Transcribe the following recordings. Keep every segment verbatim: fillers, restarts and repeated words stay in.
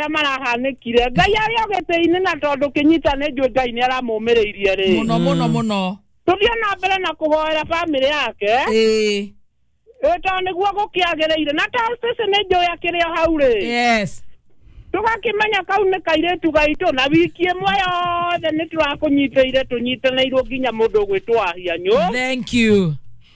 marĩa marahanĩkire. Ngai arĩ o gĩtĩ-inĩ na tondũ kĩnyita nĩ njũĩ Ngai nĩ aramũmĩrĩirie rĩ. Mũno mũno mũno. Tũthiĩ na mbere na kũhoera bamĩrĩ yake. Ĩĩ. Ĩ tondũ nĩguo gũkĩagĩrĩire na tondũ Stacy nĩ njũĩ akĩrĩ o hau rĩ. Yes. Tũgakĩmenya kau nĩ kairĩtu gaitũ na wiki ĩmwe yothe nĩ tũrakũnyitĩire tũnyitanĩirwo nginya mũndũ ũgwĩtwo Wahianyũ. Thank you.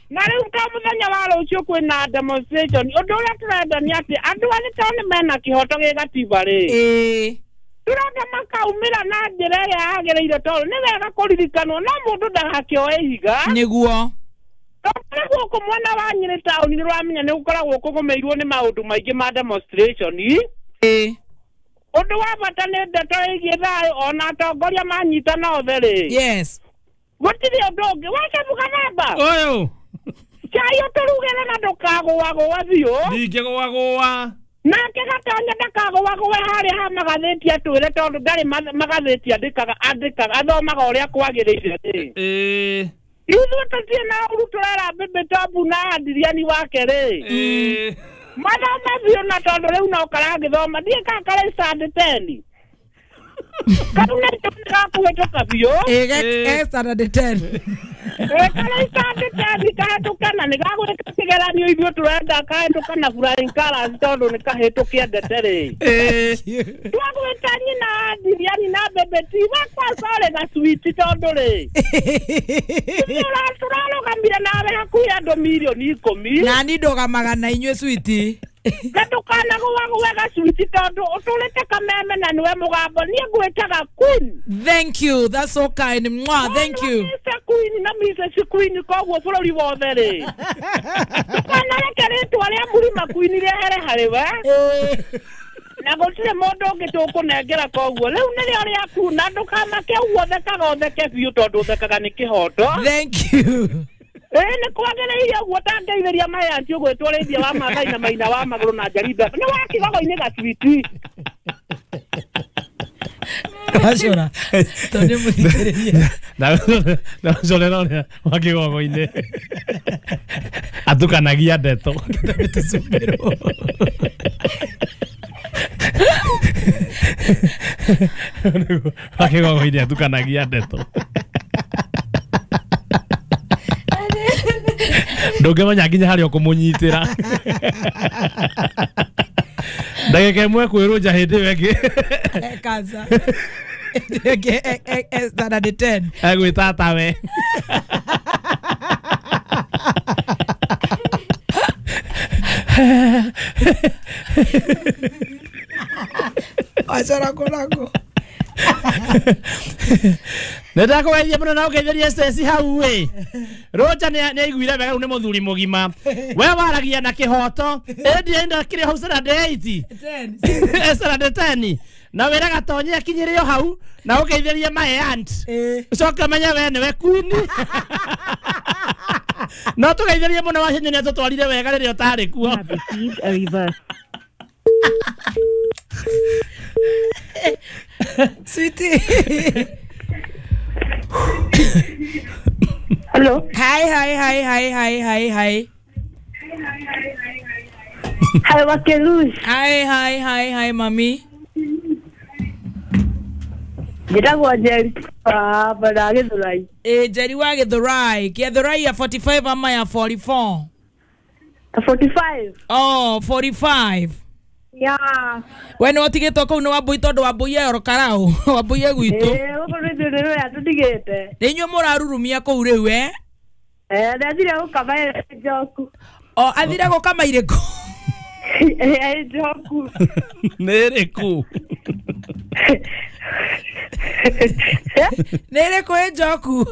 Na rĩu ta mũthenya wa rũciũ kwĩna demonstration ũndũ ũrĩa tũrenda nĩ atĩ andũ arĩa tondũ nĩ mena kĩhoto gĩ gatiba rĩ. Ĩĩ. Tũrenda makaumĩra na njĩra ĩrĩa yagĩrĩire tondũ nĩ wega kũririkanwo no mũndũ ndagakĩoe ihiga. Nĩguo. Tondũ gũkũ mwena wa Nyĩrĩ taũni nĩ ũramenya nĩ gũkoragwo kũgũmĩirwo nĩ maũndũ maingĩ ma demonstration. Ĩĩ. Ũndũ wa bata nĩ ndeto ĩgiĩ thayũ ona atongoria manyitana othe rĩ. Yes. Gũtirĩ ũndũ ũngĩ. Wacabuka namba. Ũyũ. Cai ũtũrugĩre na ndũkagũagũa biũ. Ndingĩgũagũa. Nake Gatonya ndakagũagũe harĩa ha magathĩti atwĩre tondũ ndarĩ magathĩti andĩkaga andĩkaga athomaga ũrĩa kwagĩrĩire rĩ. Ĩĩ. Ithuĩ tũtirĩ na ũru tũrera Mbĩmbĩ Tombu na Andiriani wake rĩ. Ĩĩ. Mathome biũ na tondũ rĩu no karagĩthoma ndiĩ kana karĩ standard ten. Kau nĩ gakũhĩtũka biũ. Ĩĩ standard ten. Ĩĩ karĩ standard ten kahĩtũka na nĩ gagwĩka kĩgeranio ithuĩ tũrenda kahĩtũka na flying colours tondũ nĩ kahĩtũkia ndete rĩ. Ĩĩ. Twagwĩta nyina Andiriani na Mbĩmbĩ ti wakwa sorry gacwiti tondũ rĩ. Tũrarũgamire nawe hakuhĩ andũ mirioni ikũmi. Na niĩ ndũgamaga na inyuĩ switi. Na ndũkanagũagũe gacwiti tondũ ũtũrĩte kameme na nĩwe mũgambo niĩ ngwĩtaga queen. Thank you. That's so kind. Mwah, thank you. Mister Queen na Missus Queen koguo bũrũri wothe rĩ. Ndũkanareke rĩtwa rĩa Mũrima Queen rĩehere harĩ we. Na gũtirĩ mũndũ ũngĩ tũkũnengera koguo rĩu nĩrĩo rĩaku na ndũkamake ũguo thekaga ũtheke biũ tondũ ũthekaga nĩ kĩhoto. Thank you. Ĩĩ nĩ kwagĩrĩire ũguo ũtangeithĩria mayanti ũgwĩtwo rĩithia wa Maathai na Maina wa magũrũ na Njarida nĩ wa kĩgogo-inĩ gacwiti. Wacora tondũ nĩ mũthikĩrĩria. Na ũcorera ũrĩa wa kĩgogo-inĩ atukanagia ndeto. Tũcumbĩrwo. Wa kĩgogo-inĩ atukanagia ndeto. Ndũngĩmenya nginya harĩa ũkũmũnyitĩra. Ndagĩka ĩmwe kwĩrũnja hĩndĩ ĩyo ĩngĩ. Kansa. Ĩngĩ standard ten. Egwĩta tawe. Wacora kũragwo. Nĩ ndakũgeithia mũno na ũgeithĩrie Stacy hau ĩ. Roja nĩ aiguire wega rĩu nĩ mũthuri mũgima. We waragia na kĩhoto. Ĩndĩ enda kĩrĩ hau standard eight. Standard ten. Na wĩra Gatonye akinyĩre o hau na ũgeithĩrie my aunt. Ũcoke ũmenye we nĩwe queen. No tũgeithĩrie mũno Wacinyũ nĩ atũtwarire wega rĩrĩa ũtarĩ kuo. Sweetie. Hello. Hi, hi, hi, hi, hi, hi, hi. Hi, Wakelush. Hi, hi, hi, hi, mami. Njĩtagwo Njeri wa bara Gĩthũrai. Eh, Njeri wa Gĩthũrai. Gĩthũrai ya forty-five ama ya forty-four? forty-five. Oh, forty-five. Yeah. We nĩ ũtigĩtwo kũu nĩ Wambui tondũ Wambui e oro karau. Wambui e gwitũ. Ĩĩ, gũkũ nĩ ithuĩ nĩwe atũtigĩte. Nĩ inyuĩ mũrarurumia kũu rĩu eh? Eh, ndathire gũkama ĩ njoku. O, athire gũkama irĩkũ? Ĩ njoku. Nĩ ĩrĩkũ? Nĩ ĩrĩkũ ĩ njoku?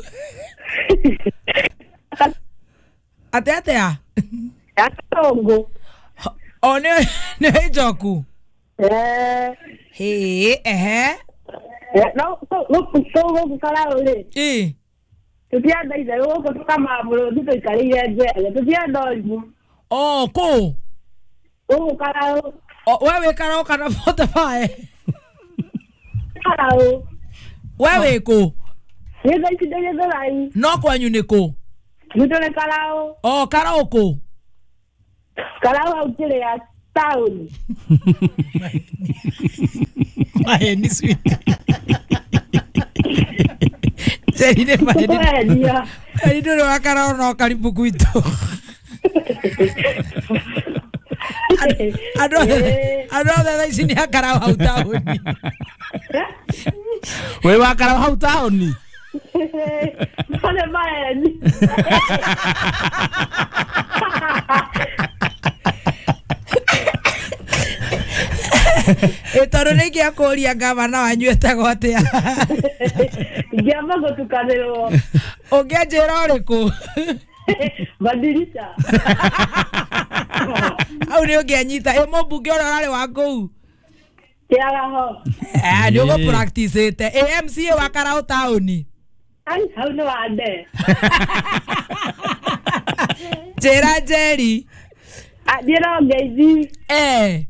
Atĩa atĩa? Ya Katongo. O nĩ nĩ njoku? Eh. Hĩ, ehe. No, gũkũ gũkũ Karau rĩ. Ĩ. Tũtienda itherũ gũkũ tũkamaga mũrũthi tũikarĩire njere. Tũtienda ũrimũ. O, kũ? Gũkũ Karau. O, we wĩ Karau kana forty-five? Karau. We wĩ kũ? Nĩ thaa ici ndĩ Gĩthũrai. No kwanyu nĩ kũ? Gwitũ nĩ Karau. O, Karau kũ? Karau hau kĩrĩa taũni. Maheni sweet. Njeri nĩ maheni. Kũhenia. Njeri ndũrĩ wa Karau no karibu gwitũ. Andũ othe andũ othe thaa ici nĩ a Karau hau taũni. Wĩ wa Karau hau taũni? No nĩ maheni. Ĩ tondũ nĩ ingĩakũria ngavana wanyu etagwo atĩa? Ingĩamba gũtukanĩrwo. Ũngĩanjĩra ũrĩkũ? Badilisha. Hau nĩ ũngĩanyita. Ĩ mũmbunge ũrĩa ũrarĩ wa kũu? Kĩaraho. Eh, nĩ ũgũ practice-ĩte. Ĩ M C A wa Karau taũni? Ai, hau nĩ wa nde. Njĩra Njeri. Niĩ no ngeithi. Eh.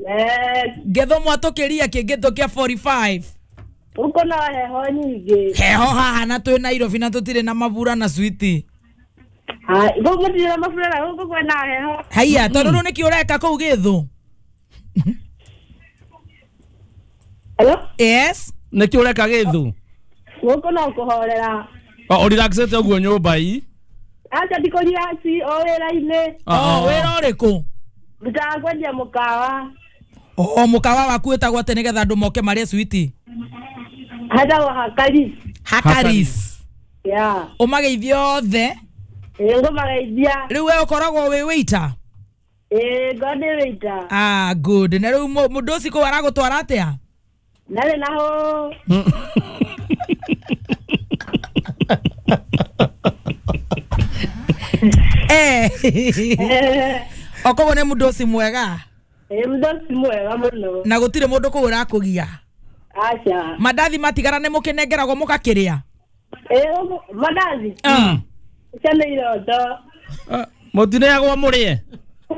Eh. Ngetho mwatũkĩria kĩngĩtũ kĩa forty-five. Gũkũ no heho nyingĩ. Heho haha na twĩ Nairobi na tũtirĩ na mabura na switi. Hai, gũkũ gũtirĩ na mabura na gũkũ kwĩna heho. Haiya, tondũ rĩu nĩkĩ ũreka kũu Gĩthũ? Hello? Yes. Nĩkĩ ũreka Gĩthũ? Gũkũ no kũhorera. O ũrelaxĩte ũguo nyũmba ii? Acha ndikũrelax o wĩra-inĩ. O wĩra ũrĩkũ? Ndutaga kwendia mũkawa. O mũkawa waku wĩtagwo atĩa nĩgetha andũ moke marĩe switi? Hetagwo Hakaris. Hakaris. Yeah. Ũmageithie othe. Ĩĩ ngũmageithia. Rĩu we ũkoragwo wĩ waiter? Ĩĩ ngoragwo ndĩ waiter. Ah, good. Na rĩu mũndũ ũcio kũu aragũtwara atĩa? Ndarĩ na hũ. Eh. Okoguo nĩ mũndũ ũcio mwega? Ĩĩ mũndũ ũcio mwega mũno. Na gũtirĩ mũndũ kũu ũrakũgia? Aca. Mandathi matigara nĩ mũkĩnengeragwo mũgakĩrĩa? Ĩĩ mandathi? Mm. Icio nĩ iroto. Mũtineagwo mũrĩe?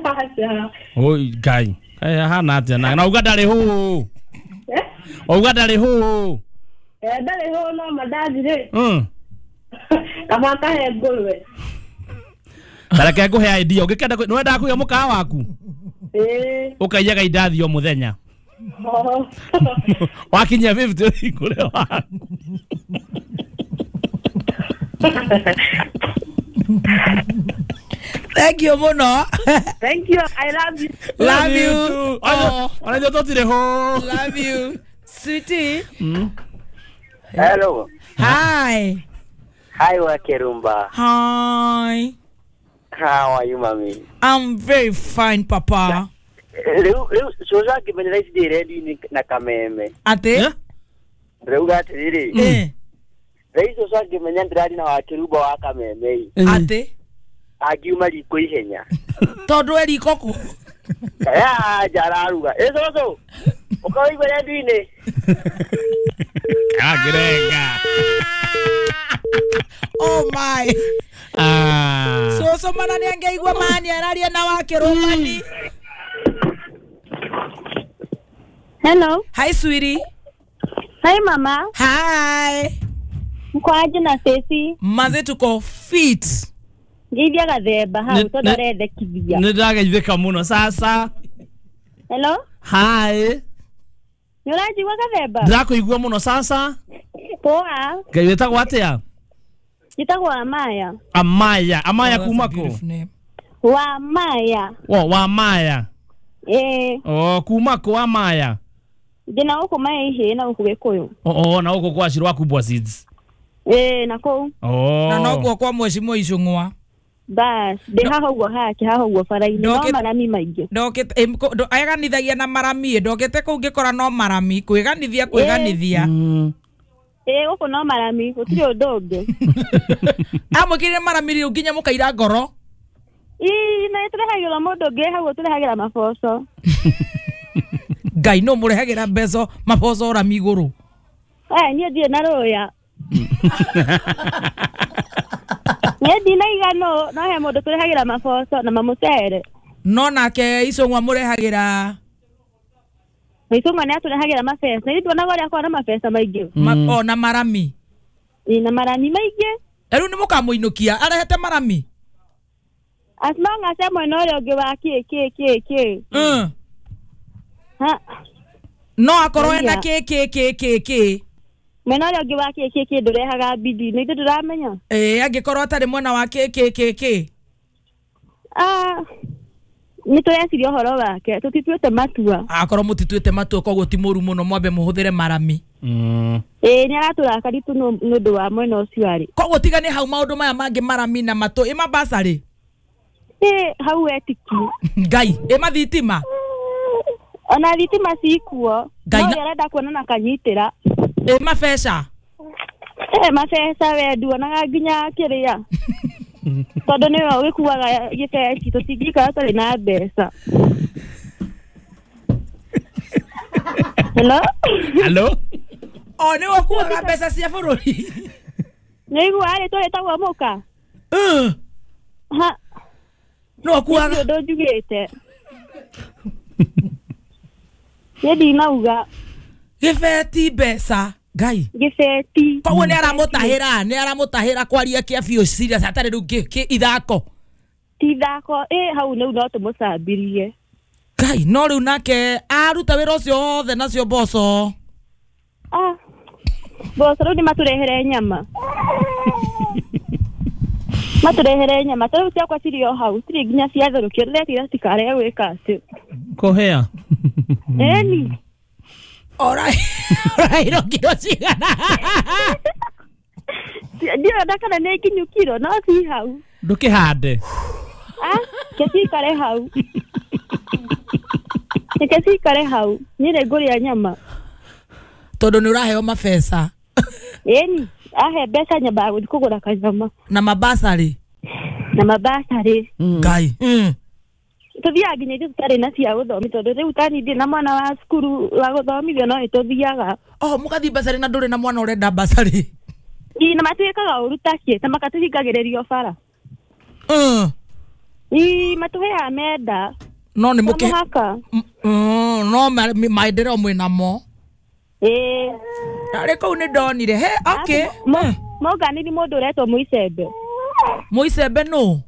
Aca. Oi Ngai. Kaĩ ahana atĩa na auga ndarĩ hũ. Eh? Auga ndarĩ hũ. Eh ndarĩ hũ no mandathi rĩ. Mm. Kaba kahe ngũrwe. Tareke ngũhe idea ũngĩkenda nĩ wendaga kũiga mũkawa waku? Ĩĩ. Ũkaiyaga indathi o mũthenya. Wakinyia fifty ũhingũre waku. Thank you mũno. Thank you. I love you. Love you. Ona ithuĩ tũtirĩ hũ. Love you. Sweetie. Mm. Hello. Hi. Hi Wakerumba. Hi. How are you, mami? I'm very fine, papa. Rĩu rĩu cũcũ angĩmenyera ici ndĩ rendi-inĩ na kameme. Atĩ? Ndĩrauga atĩrĩrĩ. Eh. Rĩu cũcũ angĩmenya ndĩrari na Wakĩrumba wa kameme ĩ. Atĩ? Angiuma riko ihenya. Tondũ e riko kũ? Anja araruga. Ĩ cũcũ, ũka ũigue rendi-inĩ. Akĩrenga. Oh my. Ah. Cũcũ mana nĩ angĩaigua mani araria na Wakĩrũmani. Hello. Hi sweetie. Hi mama. Hi. Mko aje na sesi? Maze tuko fit. Ngeithia gathemba hau tondu arendekithia. Nĩ ndageithĩka mũno sasa. Hello. Hi. Nĩ ũranjigua gathemba? Ndĩrakũigua mũno sasa. Poa. Ngai wĩtagwo atĩa? Njĩtagwo Amaya. Amaya. Amaya kuma kũ? Wa Maya. Wo wa Maya. Eh. Oh, kuma kũ Amaya? Ndĩna gũkũ Maĩhĩ na gũkũ Gĩkũyũ. Oh, oh, na gũkũ kwa Shiro wa Kubwa Seeds. Eh, na kũu. Oh. Na noguo kwa Mheshimiwa Icũng'wa. Bas, ndĩ haha ũguo hake haha ũguo bara-inĩ no marami maingĩ. Ndokĩte eganithagia na marami, ndokĩte kũu ngĩkora no marami, kwĩganithia kwĩganithia. Ĩĩ gũkũ no marami, gũtirĩ ũndũ ũngĩ. Amũkĩrire marami rĩu nginya mũkaira ngoro. Ĩĩ na tũrehagĩrwo mũndũ ũngĩ hau tũrehagĩra maboco. Ngai no mũrehagĩra mbeco maboco rami igũrũ. Eh niĩ ndirĩ na rũya. Niĩ ndina igano no he mũndũ tũrehagĩra maboco na mamũcere. No nake Icũng'wa mũrehagĩra Icũng'wa nĩ atũrehagĩra mabeca. Ithuĩ tuonaga ũrĩa akoragwo na mabeca maingĩ. O na marami. Ĩĩ na marami maingĩ. Rĩu nĩ mũkamũinũkia arehete marami. As long as e mwena ũrĩa ũngĩ wa kĩ kĩ kĩ kĩ. Mm. Ha. No akorwo ena kĩ kĩ kĩ kĩ kĩ. Mwena ũrĩa ũngĩ wa kĩ kĩ kĩ ndũrehaga bidii nĩ ithuĩ ndũramenya. Ĩĩ angĩkorwo atarĩ mwena wa kĩ kĩ kĩ kĩ. Ah, nĩ tũreciria ũhoro wake tũtituĩte matua. Akorwo mũtituĩte matua koguo ti mũru mũno mwambe mũhũthĩre marami. Mm. Ĩĩ nĩ aratũrakari tu nĩ ũndũ wa mwena ũcio arĩ. Koguo tiga nĩ hau maũndũ maya mangĩ marami na matũ ĩ mabacarĩ. Ĩĩ hau etiki. Ngai ĩ mathitima. Ona thitima cikuo. Ngai No arenda kuona na kanyitĩra. Ĩ mabeca. Ĩ mabeca we nduonaga nginya kĩrĩa. Tondũ nĩwe ũgĩkuaga gĩbeci tũtingĩikara tũtarĩ na mbeca. Hello? Hello? O nĩwe ũkuaga mbeca cia bũrũri. Nĩũiguaga rĩtwa rĩtagwo mũka? Mm. Ha. Nĩwe ũkuaga. Nĩ ũndũ njugĩte. Niĩ ndinauga. Gĩbeti mbeca. Ngai. Gĩbeti. Koguo nĩ aramũtahĩra, nĩ aramũtahĩra kwaria kĩa biũ serious atarĩ rĩu kĩ kĩ ithako. Ti ithako, ĩ hau nĩu no tũmũcambirie. Ngai no rĩu nake aruta wĩra ũcio wothe nacio mboco. Ah. Mboco rĩu nĩ matũrehere nyama. Matũrehere nyama ta rĩu ciakwa cirĩ o hau cirĩ nginya ciatherũkio ndĩretira cikarege gwĩka atĩ. Kũhĩa. Ĩni. Orairwo kiro cigana. Ndiona kana nĩ nginyu kiro no ci hau. Ndũkĩhande. Ah, ke cikare hau. Ke cikare hau. Niĩ nĩ ngũrĩa nyama. Tondũ nĩ ũraheo mabeca. Ĩni, ahe mbeca nyambaga gũthiĩ kũgũra kanyama. Na mabacarĩ. Na mabacarĩ. Ngai. Mm. Tũthiaga nginya ithuĩ tũtarĩ na cia gũthomithio tondũ rĩu tani ndirĩ na mwana wa cukuru wa gũthomithio no nĩtũthiaga. Oh, mũgathiĩ bacarĩ na ndũrĩ na mwana ũrenda bacarĩ. Ĩ na matuĩkaga ũru takĩ na makatũhingagĩrĩrio bara. Mm. Ĩ matũheaga menda. No nĩ mũkĩ mũhaka. Mm, no maendeleo mwĩnamo. Ĩ. Narĩ kũu nĩ ndonire. He, okay. Monganĩri mũndũ ũretwo Mũicembe. Mũicembe nũ?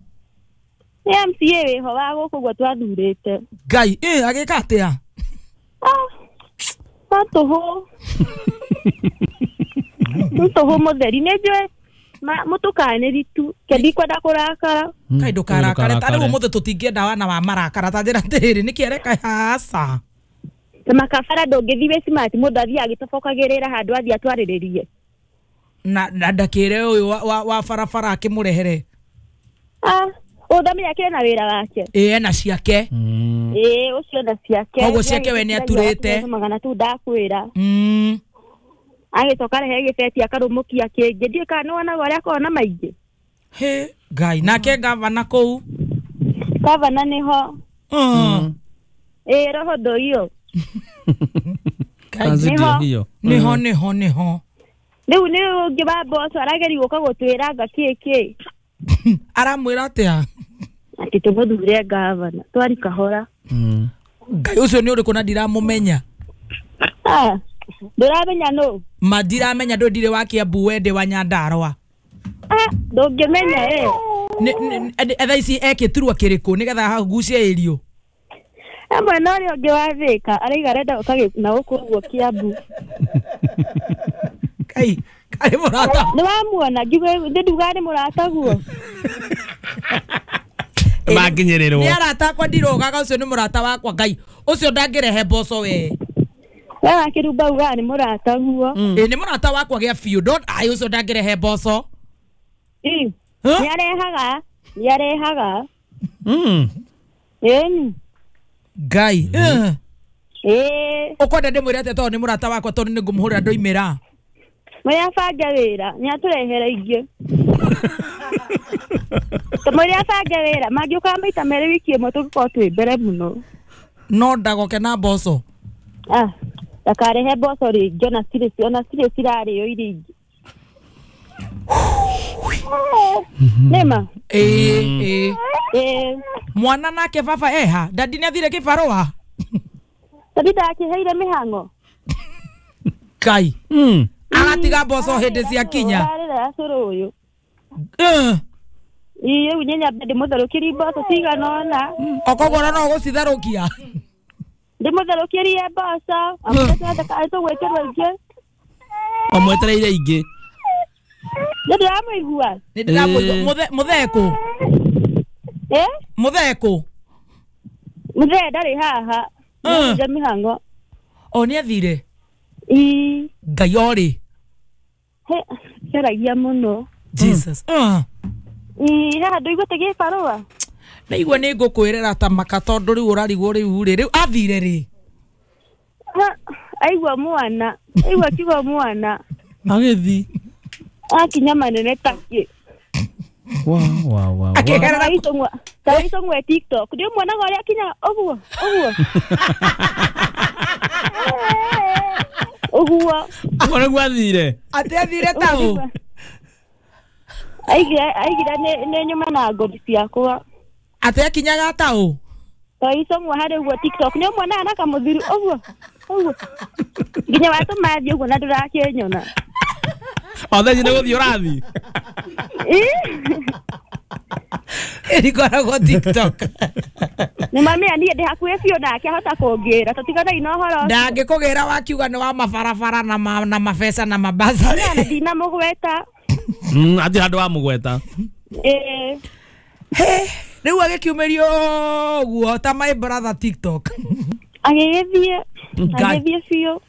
Nĩ M C A wĩho wa gũkũ ũguo twathurĩte. Ngai, ĩ agĩka atĩa? Ah, no tũhũ. Nĩ tũhũ mũtheri nĩ njũĩ mũtũkanĩri tu ke ndikwenda kũrakara. Kai ndũkarakare ta rĩu ũmũthĩ tũtingĩenda wana wa marakara ta njĩra atĩrĩrĩ nĩkĩ areka aca. Ta makabara ndũngĩthiĩ wĩ smart mũndũ athiĩ agĩtobokagĩrĩra handũ athiĩ atwarĩrĩrie. Na na ndakĩre ũyũ wa, wa, wa barabara akĩmũrehere. Ah, ũndamenya kĩrĩ na wĩra wake. Ĩ ena ciake. Ĩ ũcio na ciake. Koguo ciake we nĩ aturĩte. Magana tu ndakwĩra. Mm. Agĩcoka rehe gĩbeti akarũmũkia kĩngĩ ndiũĩ kana nĩwonaga ũrĩa akoragwo na maingĩ. He Ngai nake gavana kũu. Gavana nĩho. Mm. Ĩ roho ndoiyo. Kazi ndio hiyo. Nĩho nĩho nĩho. Rĩu nĩ ũngĩ wa mboco arageria gũka gũtwĩranga kĩ kĩ. Aramwĩra atĩa? Atĩ tũmũthure gavana twari kahora. Mm. Ngai ũcio nĩ ũrĩkũ na ndiramũmenya. Ah, ndũramenya nũ? Ma ndiramenya ndũ ndirĩ wa Kiambu we ndĩ wa Nyandarua. Ah, ndũngĩmenya ĩ. Nĩ thaa ici ekĩturwa kĩrĩkũ nĩgetha hagucie irio? E mwena ũrĩa ũngĩ wa Thĩka araiga arenda gũka na gũkũ ũguo Kiambu. Kai, kai mũrata. Nĩ wamuona ngiuga nĩ ndugaga nĩ mũrataguo. Makinyĩrĩrwo. Nĩ arata akwa ndirogaga ũcio nĩ mũrata wakwa Ngai. Ũcio ndangĩrehe mboco we. We wakĩrumba ugaga nĩ mũrataguo. Ĩ nĩ mũrata wakwa gĩa biũ don't ai ũcio ndangĩrehe mboco. Ĩ. Nĩ arehaga, nĩ arehaga. Mm. Ĩni. Ngai. Ĩ. Ũkwenda ndĩmwĩre atĩa tondũ nĩ mũrata wakwa tondũ nĩ ngũmũhũrĩra ndoimĩra. Mwĩre abange wĩra, nĩ atũrehere ingĩ. Mwĩre abange wĩra, mangĩũkaga maita merĩ wiki ĩmwe tũngĩkorwo twĩ mbere mũno. No ndagoke na mboco. Ah, ndakarehe mboco rĩngĩ ona cirĩ ona cirĩ cirarĩo iria ingĩ. Nĩma? Ĩ ĩ. Ĩ. Mwana nake baba eha, dadi nĩ athire kĩbarũa. Dadi ndakĩheire mĩhang'o. Ngai. Mm. Agatiga mboco hĩndĩ cia kinya. Ararĩra cũrũ ũyũ. Eh. Ĩ rĩu nyambe ndĩmũtherũkĩrie mboco cigana ũna. Okoguo no ũgũcitherũkia. Ndĩmũtherũkĩrie mboco amũtwethe tũgwĩkĩrwo ingĩ. Omwetereire ingĩ. Nĩ ndĩramũigua. Nĩ ndĩramũigua. Mũthe mũthee kũ? Eh? Mũthee kũ? Mũthee ndarĩ haha. Nĩ mĩhang'o. O nĩ athire? Ii. Ngai orĩ. He, kĩaragia mũno. Jesus. Uh. Ii, haha ndũiguĩte gĩbarũa? Ndaigua nĩ ngũkwĩrĩra ta maka tondũ rĩu ũrarigwo rĩu rĩ rĩu athire rĩ? Aigua mwana, aigua kiugo mwana. Agĩthi. Akinya manene takĩ. Wa wa wa. Akĩgerera ta icong'we TikTok. Ndio mwonaga ũrĩa akinyaga ũguo ũguo. Ũguo. Ũguo nĩguo athire. Atĩ athire ta ũ? Aigire aigire nĩ nĩ nyuma na ngothi ciakwa. Atĩ akinyaga ta ũ? Ta icong'we harĩ ũguo TikTok. Nĩ ũmuonaga na kamũthiri ũguo ũguo. Nginya watũma thiĩ ũguo na ndũrakĩnyona. O thaa ici nĩ gũthiĩ ũrathiĩ? Ĩrikoragwo TikTok. Nĩ mamĩa niĩ ndĩ hakuhĩ biũ nake ahota kũngĩra tũtiganai na ũhoro ũcio. Ndangĩkũgĩra wakiuga nĩ wa mabarabara na ma, na mabeca na mabaca. Na ndinamũgweta. Mm, atirĩ handũ wamũgweta. Ĩĩ. Rĩu agĩkiumĩrio ũguo ta my brother TikTok. Agĩgĩthiĩ agĩthiĩ biũ.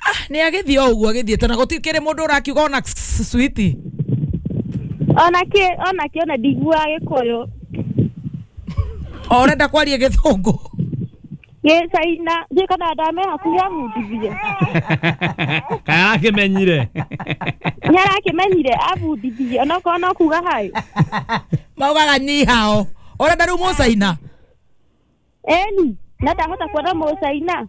Ah, nĩ agĩthiĩ o ũguo agĩthiĩte na gũtikĩrĩ mũndũ ũrakiuga ona switi. Ona kĩ ona kĩ ona ndiguaga Gĩkũyũ. O ũrenda kwaria Gĩthũngũ? Gĩcaina, ndiũĩ kana ndame hakuhĩ abundithie. Kana arakĩmenyire? Nĩ arakĩmenyire abundithie onokorwo no kuga hi. Maugaga ni hao. Ũrenda rĩu mũcaina? Ĩni, na ndahota kuona mũcaina.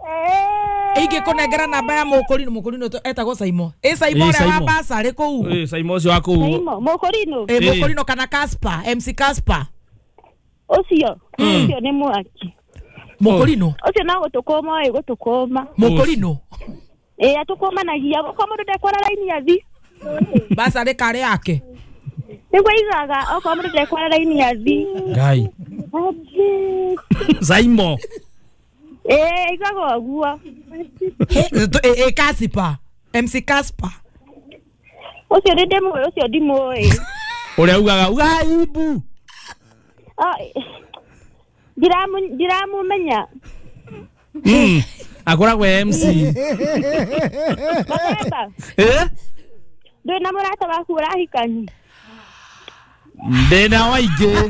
Ingĩkũnengera namba ya mũkũrinũ, mũkũrinũ etagwo Saimo. Ĩ Saimo ũrĩa wa basarĩ kũu. Ĩ Saimo ũcio wa kũu. Saimo, mũkũrinũ? Ĩ mũkũrinũ kana Casper, M C Casper. Ũcio, ũcio nĩ mwaki. Mũkũrinũ? Ũcio no gũtũkũma oĩ gũtũkũma. Mũkũrinũ? Ĩ atũkũmanagia, okorwo mũndũ ndekwara raini athi. Basarĩ karĩ yake? Nĩguo aigaga okorwo mũndũ ndekwara raini athi. Ngai. Saimo. Ĩ aigaga ũguo. Ĩ Casper, M C Casper. Ũcio nĩ ndĩmũĩ, ũcio ndimũĩ. Ũrĩa ugaga uga aibu. Ndiramũmenya. Mm. Akoragwo M C. Baba. Eh? Ndũrĩ na mũrata waku ũrahikania? Ndĩna waingĩ.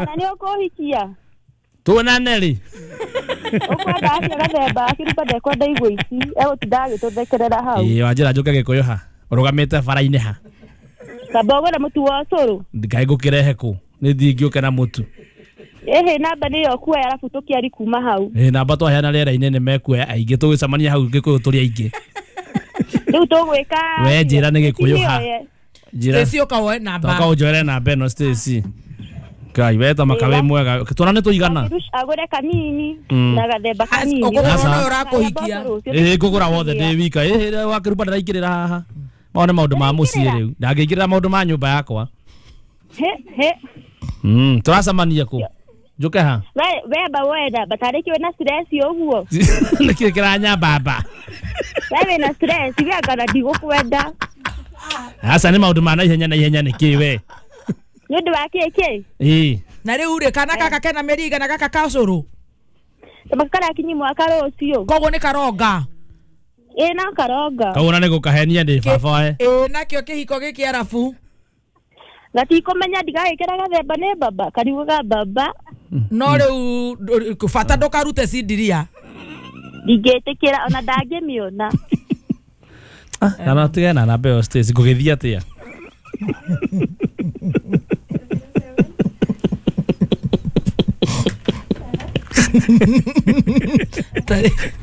Na nĩ ũkũhikia? Tuonane rĩ? Ũkwenda atĩa gathemba akĩruta ndekwenda igwa ici egũtinda agĩtũthekerera hau. Ĩĩ wanjĩra njũke Gĩkũyũ ha? Ũrũgamĩte bara-inĩ ha? Kamba ũgũre mũtu wa ũcũrũ. Ngai ngũkĩrehe kũ? Nĩ thiĩ ngĩũke na mũtu. Ĩhĩ namba nĩyo ũkuoya arabu tũkĩari kuma hau. Ĩĩ namba twaheana rĩera-inĩ nĩ mekuoya aingĩ tũgĩcemania hau Gĩkũyũ tũrĩ aingĩ. Rĩu tũgwĩka We njĩra nĩ Gĩkũyũ ha? Njĩra. Stacy ũka woe namba. Toka ũnjoere namba ĩno Stacy. Ngai we ta makawe mwega. Tuonane tũigana. Agũre kanini na gathemba kanini. Ũkũgũra ũyũ ũrakũhikia. Ĩĩ ngũgũra wothe ndĩ wika. Ĩĩ wakĩruba ndĩraingĩrĩra haha. Mao nĩ maũndũ ma mũciĩ rĩu. Ndangĩingĩrĩra maũndũ ma nyũmba yakwa. He he. Mm, tũracemania kũ? Njũke ha? We we ba woe namba tarĩki wĩna stress ũguo. Nĩkĩ kĩranyambamba? We wĩna stress we anga ndigũkwenda. Aca nĩ maũndũ ma naihenya naihenya nĩkĩ we? Nĩ ũndũ wa kĩ kĩ? Ĩĩ. Na rĩu rĩ kana gaka kena mĩeri igana gaka ka ũcũrũ? Karakinyi mwaka rũciũ. Koguo nĩ karonga. Ĩĩ no karonga. Koguo na nĩ gũkahenia ndĩ baba we. Ĩĩ nakĩo kĩhiko gĩkĩ arabu. Gatikũmenya ndigagĩkĩra gathemba nĩ baba kariugaga baba. No rĩu bata ndũkarute cindiria. Ndingĩtĩkĩra ona ndangĩmĩona. Kana tige na namba ĩyo Stacy ngũgĩthiĩ atĩa?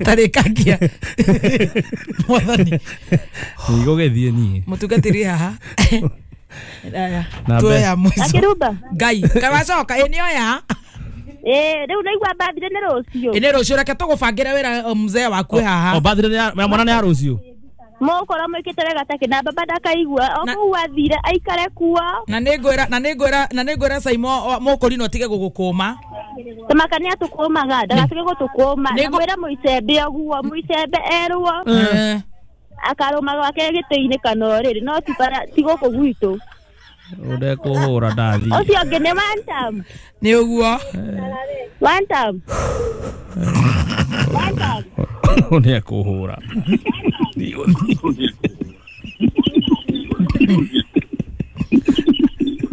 Tarĩkagia mwathani. Ndigũgĩthiĩ niĩ. Mũtungatĩri haha. Aya. Tuoya mũico. Akĩrumba. Ngai, kawacoka ĩ nĩoya? Ĩĩ rĩu naigua birthday nĩ rũciũ. Ĩ nĩ rũciũ reke tũgũbangĩre wĩra mzee waku haha. O birthday ya mwana nĩ ya rũciũ. Mũgũkorwo mwĩkĩte wega take na baba ndakaigua o kũu athire aikare kuo. Na nĩ ngwĩra na nĩ ngwĩra na nĩ ngwĩra Saimo mũkũrinũ atige gũgũkũma. Tamakania tukũmaga ndagatige gũtũkũma na mwĩre mũicembe ũguo mũicembe erwo akarũma gwake gĩtĩ-inĩ kana ũrĩrĩ no ti gũkũ gwitũ. Ũndekũhũra ndathi. Ũcio ũngĩ nĩ one time. Nĩ ũguo. One time. One time. Ũndekũhũra.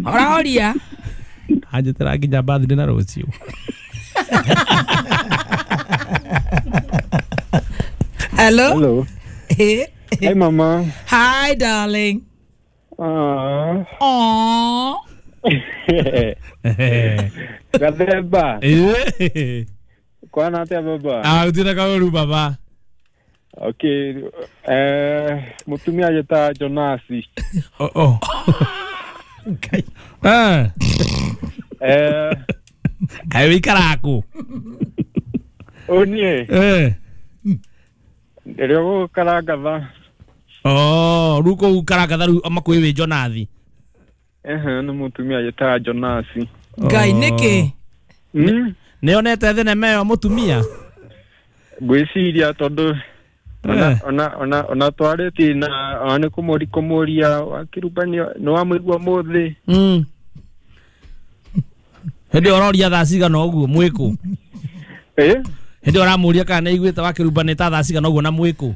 Ũrahoria? Anjĩtĩra nginya birthday na rũciũ. Hello? Hello. Hi, Mama. Hi, darling. Aww. Aww. Gathemba. Kwana atia baba? Ah, utina kauru baba. Okay. Eh, mutumia jeta Jonasi. Oh oh. Okay. Ah. Eh, kai wikara ku. Onie. Eh. Rĩo karangatha. Oh, rĩu kũu karangatha rĩu makuĩ wĩ Jonathi. Ehe, nĩ mũtumia jetaga Jonasi. Ngai nĩkĩ? Mm. Nĩonete thenema ĩyo mũtumia? Ngwĩciria tondũ ona ona ona ona twarĩtie na ona nĩ kũmũri kũmũria wakĩruba nĩ wamũigua mũthĩ. Mm. Hĩndĩ ĩyo ũroria thaa cigana ũguo mwĩkũ? Eh? Hĩndĩ ĩyo ũramũria kana nĩaiguĩte wakĩruba nĩ ta thaa cigana ũguo na mwĩkũ?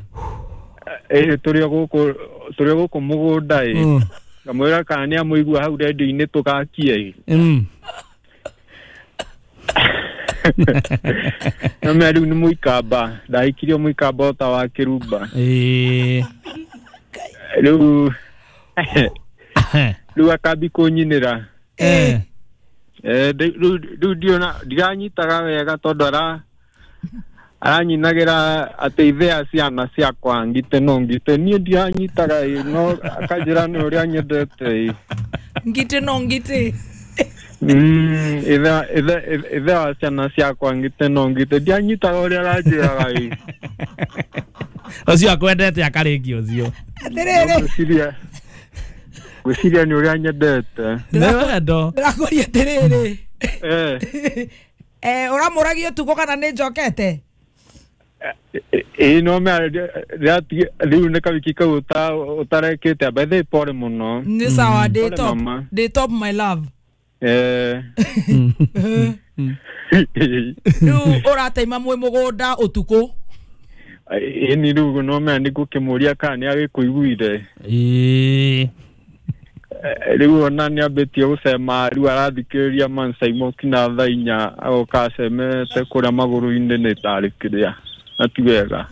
Eh, tũrĩ o gũkũ tũrĩ o gũkũ mũgũnda ĩ. Ngamwĩra kana nĩamũigua hau rendio-inĩ tũgakie ĩ. Mm. No mea rĩu nĩ mũikamba ndahikirio mũikamba ota wa kĩrumba. Ĩĩ. Rĩu rĩu akambi kũnyinĩra. Eh. Eh, rĩu ndiona ndiranyitaga wega tondũ ara aranyinagĩra atĩ ithe a ciana ciakwa ngite no ngite niĩ ndiranyitaga ĩ no akanjĩra nĩ ũrĩa nyendete ĩ. Ngite no ngite. Mm, ithe ithe ithe wa ciana ciakwa ngite no ngite ndianyitaga ũrĩa aranjĩraga ĩ. Ũcio akwendete akarĩkia ũcio. Atĩrĩrĩ. Ngwĩciria ngwĩciria nĩ ũrĩa nyendete. Nĩ wendo. Ndĩrakũria atĩrĩrĩ. Eh. Eh, ũramũragia ũtukũ kana nĩ njokete? Ĩĩ no mea rĩu nĩ kawiki kau ũtarekĩte by the way pole mũno. Nĩ sawa ndĩ top. Ndĩ top my love. Eh. Rĩu ũrateima mwĩ mũgũnda ũtukũ? Ĩĩ ni rĩu no mea nĩ ngũkĩmũria kana nĩ agĩkũiguire. Ĩĩ. Rĩu ona nĩ ambĩtie gũcema rĩu arathikĩrĩria Man Simon kinya thaa inya agoka acemete kũrĩa magũrũ-inĩ nĩ tarĩ kĩrĩa na ti wega.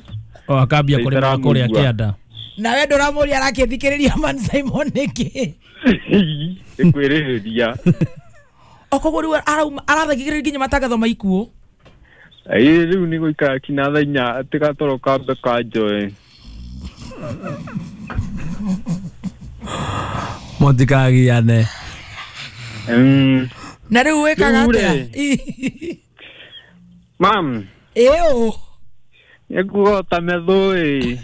O akambia kũrĩma kũrĩa kĩanda. Nawe ndũramũria arakĩthikĩrĩria Man Simon nĩkĩ? Nĩ kwĩrĩhĩria. O koguo rĩu arathikĩrĩria nginya matangatho ma ikuũ? Ĩĩ rĩu nĩ gũikara kinya thaa inya atĩ gatoro kambe kanjoe. Mũtikagiane. Mm. Na rĩu wĩkaga atĩa? Mam. Ĩũ. Nĩngũgota methũ ĩ.